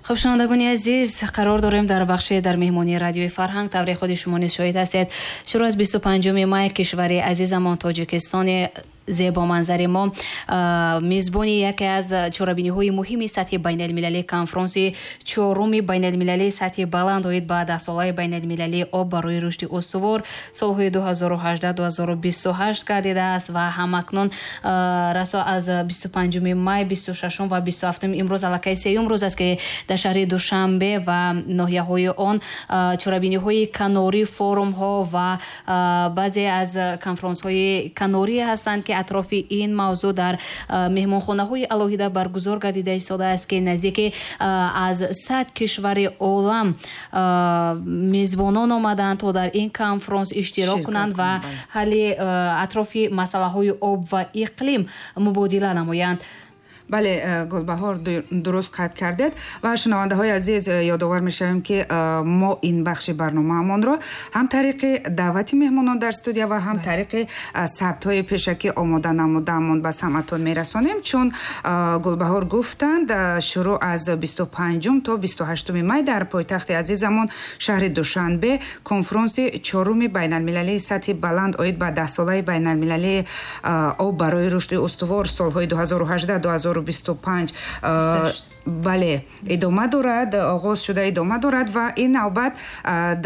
Хуб, шунавандагони азиз, қарор дорем дар бахши дар меҳмонии Радиои Фарҳанг. Тавре худи шумо низ шоҳид ҳастед, шурӯъ аз 25 май кишвари азизамон, Тоҷикистони зебоманзари мо, мизбони яке аз чорабиниҳои муҳими сатҳи байналмилалӣ, конфронси чоруми байналмилалии сатҳи баланд оид ба Даҳсолаи байналмилалии об барои рушди устувор солҳои 2018-2028 гардидааст ва ҳамакнун расо аз 25 май, 26 ва 27, имрӯз аллакай сеюм рӯз аст, ки дар шаҳри Душанбе ва ноҳияҳои он чорабиниҳои канорӣ, форумҳо ва баъзе аз конфронсҳои канорӣ ҳастанд, ки атрофи ин мавзӯъ дар меҳмонхонаҳои алоҳида баргузор гардида истодааст, ки наздики аз 100 кишвари олам мезбонон омаданд, то дар ин конфронс иштирок кунанд ва ҳалли атрофи масъалаҳои об ва иқлим мубодила намоянд. Бале, Гулбаҳор, дуруст қайд кардед ва шунавандаҳои азиз, ёдовар мешавем, ки мо ин бахши барномаамонро ҳам тариқи даъвати меҳмонон дар студия ва ҳам тариқи сабтҳои пешакӣ омода намудаамон ба самъатон мерасонем. Чун Гулбаҳор гуфтанд, шурӯъ аз 25 то 28 май дар пойтахти азизамон, шаҳри Душанбе, конфронси чоруми байналмилалии сатҳи баланд оид ба Даҳсолаи байналмилалии об барои рушди устувор солҳои 2018 2025, бале, идома дорад, оғоз шуда идома дорад. Ва ин навбат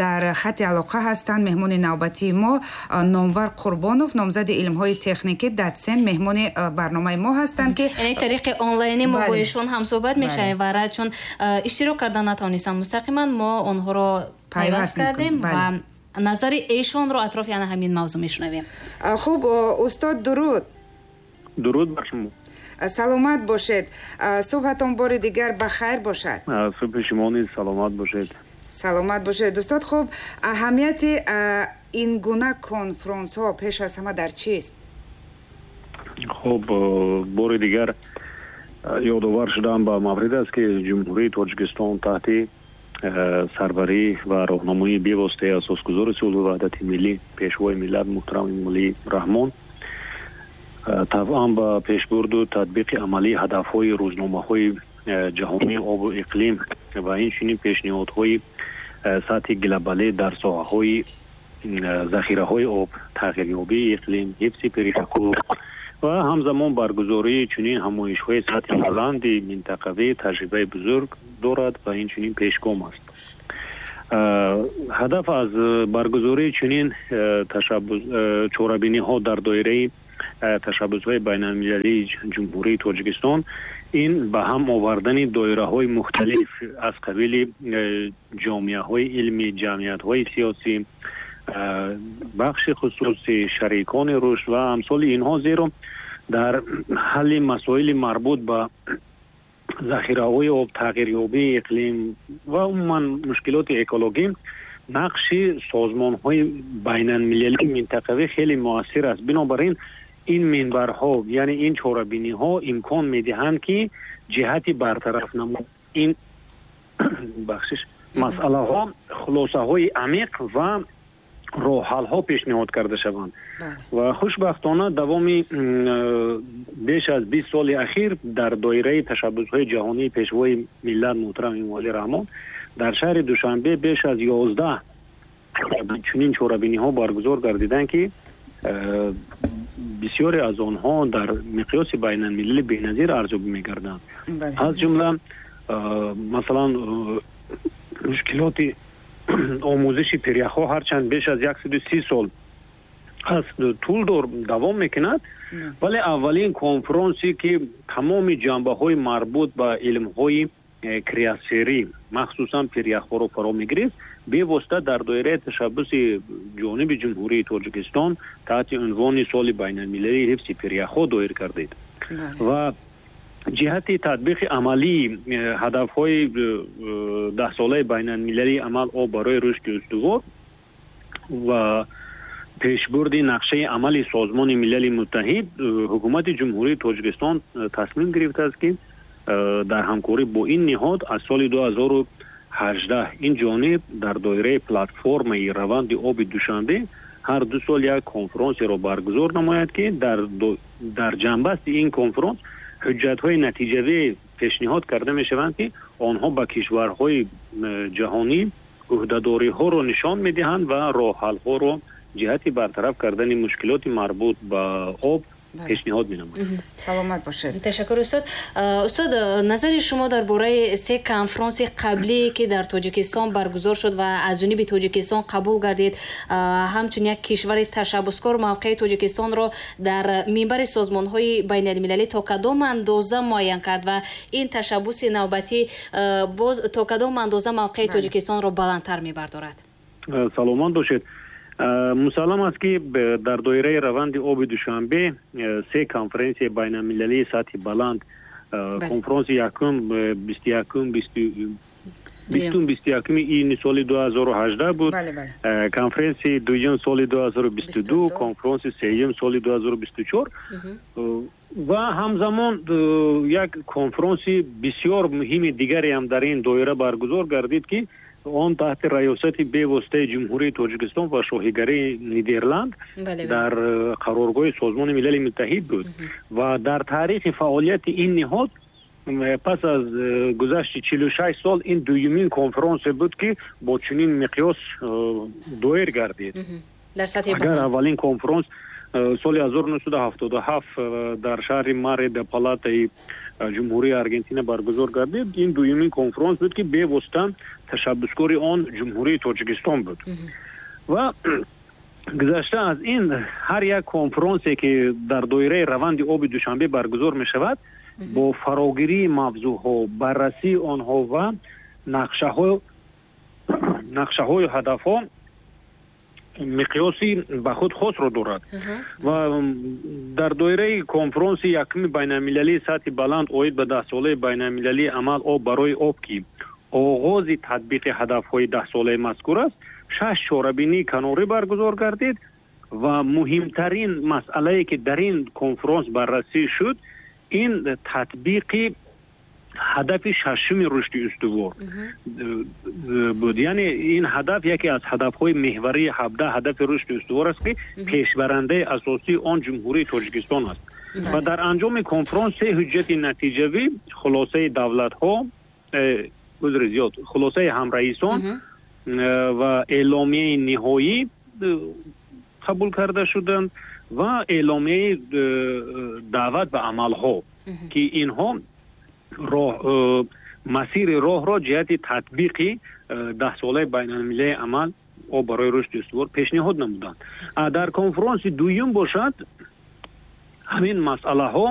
дар хати алоқа ҳастанд меҳмони навбатии мо, Номвар Қурбонов, номзади илмҳои техникӣ, дотсент, меҳмони барномаи мо ҳастанд, ки Яъне тариқи онлайнӣ мо бо эшон ҳамсӯҳбат мешавем ва чун иштирок карда натавонистанд мустақиман, мо онҳоро пайваст кардем ва назари эшонро атрофи ана ҳамин мавзӯъ мешунавем. Хуб, устод, дуруд. Дуруд бар шумо. Саломат бошед, субҳатон бори дигар ба хайр бошад. Субҳи шумо низ саломат бошед. Саломат бошед, устод. Хуб, аҳамияти ин гуна конфронсҳо пеш аз ҳама дар чист? Хуб, бори дигар ёдовар шудам ба маврид аст, ки Ҷумҳурии Тоҷикистон таҳти сарварӣ ва роҳнамоии бевоситаи асосгузори сулҳу ваҳдати миллӣ, Пешвои миллат муҳтарам Эмомалӣ Раҳмон, тавъан ба пешбурду татбиқи амалии ҳадафҳои рӯзномаҳои ҷаҳонии обу иқлим ва инчунин пешниҳодҳои сатҳи глобалӣ дар соҳаҳои захираҳои об, тағйирёбии иқлим, ҳифзи пиряхҳо ва ҳамзамон баргузории чунин ҳамоишҳои сатҳи баланди минтақавӣ таҷрибаи бузург дорад ва инчунин пешгом аст. Ҳадаф аз баргузории чунин чорабиниҳо дар доираи ташаббусҳои байналмилалии Ҷумҳурии Тоҷикистон ин ба ҳам овардани доираҳои мухталиф аз қабили ҷомеаҳои илмӣ, ҷамъиятҳои сиёсӣ, бахши хусусӣ, шарикони рушд ва амсоли инҳо, зеро дар ҳалли масоили марбут ба захираҳои об, тағйирёбии иқлим ва умуман мушкилоти экологӣ нақши созмонҳои байналмилалии минтақавӣ хеле муассир аст. Бинобар ин, ин минбарҳо, яъне ин чорабиниҳо имкон медиҳанд, ки ҷиҳати бартараф намудани ин, бахшиш, масъалаҳо хулосаҳои амиқ ва роҳҳалҳо пешниҳод карда шаванд. Ва хушбахтона давоми беш аз 20 соли ахир дар доираи ташаббусҳои ҷаҳонии Пешвои миллат муҳтарам Эмомалӣ Раҳмон дар шаҳри Душанбе беш аз 11 чунин чорабиниҳо баргузор гардиданд, ки бисёре аз онҳо дар миқёси байналмилалӣ беназир арзёбӣ мегарданд. Аз ҷумла, масалан, мушкилоти омӯзиши пиряхҳо ҳарчанд беш аз 130 сол аз тӯл дор давом мекунад, вале аввалин конфронсе, ки тамоми ҷанбаҳои марбут ба илмҳои криосферӣ, махсусан пиряхҳоро фаро мегирифт, бевосита дар доираи ташаббуси ҷониби Ҷумҳурии Тоҷикистон таҳти унвони Соли байналмилалии ҳифзи пиряхҳо доир кардид. Ва ҷиҳати татбиқи амалии ҳадафҳои Даҳсолаи байналмилалии амал об барои рушди устувор ва пешбурди нақшаи амали Созмони Милали Муттаҳид ҳукумати Ҷумҳурии Тоҷикистон тасмим гирифтааст, ки дар ҳамкорӣ бо ин ниҳод аз соли 2018 ин ҷониб дар доираи платформаи раванди оби Душанбе ҳар 2 сол як конфронсеро баргузор намояд, ки дар ҷанбасти ин конфронс ҳуҷҷатҳои натиҷавӣ Пешниҳод карда мешаванд, ки онҳо ба кишварҳои ҷаҳонӣ ӯҳдадориҳоро нишон медиҳанд ва роҳҳалҳоро ҷиҳати бартараф кардани мушкилоти марбут ба об пешниҳод менамояд. Саломат бошед. Ташаккур, устод. Устод, назари шумо дар бораи се конфронси қаблие, ки дар Тоҷикистон баргузор шуд ва аз ҷониби Тоҷикистон қабул гардид, ҳамчун як кишвари ташаббускор мавқеи Тоҷикистонро дар минбари созмонҳои байналмилалӣ то кадом андоза муайян кард ва ин ташаббуси навбатӣ боз то кадом андоза мавқеи Тоҷикистонро баландтар мебардорад? Саломат бошед. Мусаллам аст, ки дар доираи раванди оби Душанбе се конференсияи байналмилалии сатҳи баланд, конфронси якум 21-ум, 20-ум, 21-уми июни соли 2018 буд, конференсияи дуюм соли 2022, конфронси сеюм соли 2024 ва ҳамзамон як конфронси бисёр муҳими дигаре ҳам дар ин доира баргузор гардид, ки он таҳти раёсати бевоситаи Ҷумҳурии Тоҷикистон ва Шоҳигарии Нидерланд дар қароргоҳи Созмони Милали Муттаҳид буд. Ва дар таърихи фаъолияти ин ниҳод пас аз гузашти 46 сол ин дуюмин конфронсе буд, ки бо чунин миқёс доир гардид. Агар аввалин конфронс соли 1977 дар шаҳри Маре де Платаи Ҷумҳурии Аргентина баргузор гардид, ин дуюмин конфронс буд, ки бевосита ташаббускори он Ҷумҳурии Тоҷикистон буд. Ва гузашта аз ин, ҳар як конфронсе, ки дар доираи раванди оби Душанбе баргузор мешавад, бо фарогирии мавзӯъҳо, баррасии онҳо ва нақшаҳою ҳадафҳо миқёси ба худ хосро дорад. Ва дар доираи конфронси якуми байналмилалии сатҳи баланд оид ба даҳсолаи байналмилалии амал «Об барои об», ки оғози татбиқи ҳадафҳои даҳсолаи мазкур аст, шаш чорабинии канорӣ баргузор гардид. Ва муҳимтарин масъалае, ки дар ин конфронс баррасӣ шуд, ин татбиқи ҳадафи шашуми рушди устувор буд. Яъне ин ҳадаф яке аз ҳадафҳои меҳварии 17 ҳадафи рушди устувор аст, ки пешбарандаи асосии он Ҷумҳурии Тоҷикистон аст. Ва дар анҷоми конфронс се ҳуҷҷати натиҷавӣ, хулосаи давлатҳо, узри зиёд, хулосаи ҳамраисон ва эъломияи ниҳоӣ қабул карда шуданд ва эъломияи даъват ба амалҳо, ки инҳо масири роҳро ҷиҳати татбиқи даҳсолаи байналмилалии амал «Об барои рушди устувор» пешниҳод намуданд. Дар конфронси дуюм бошад, ҳамин масъалаҳо